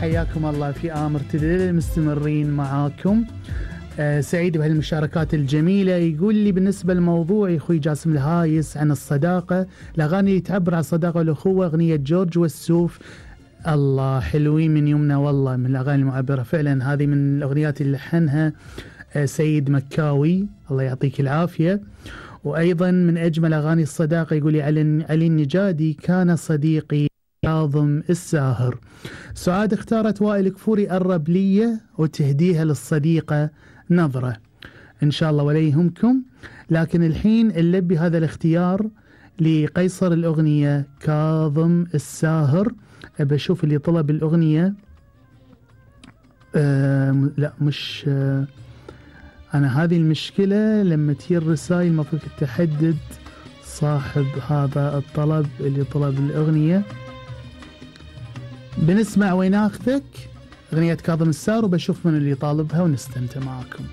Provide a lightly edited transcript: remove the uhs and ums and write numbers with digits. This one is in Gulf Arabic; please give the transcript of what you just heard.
حياكم الله في آمر تدلل، مستمرين معاكم. سعيد بهالمشاركات الجميلة. يقول لي بالنسبة للموضوع أخوي جاسم الهايس عن الصداقة، الأغاني اللي تعبر عن الصداقة والأخوة أغنية جورج والسوف، الله حلوين من يمنا، والله من الأغاني المعبرة فعلا. هذه من الأغنيات اللي لحنها سيد مكاوي، الله يعطيك العافية. وأيضا من أجمل أغاني الصداقة يقول لي علي النجادي، كان صديقي كاظم الساهر. سعاد اختارت وائل كفوري، قرب لي وتهديها للصديقة نظرة. إن شاء الله ولا يهمكم. لكن الحين نلبي هذا الاختيار لقيصر الأغنية كاظم الساهر. بشوف اللي طلب الأغنية. لا مش أنا، هذه المشكلة لما تجي الرسائل المفروض تحدد صاحب هذا الطلب اللي طلب الأغنية. بنسمع وين أخذك أغنية كاظم الساهر، وبشوف من اللي طالبها ونستمتع معكم.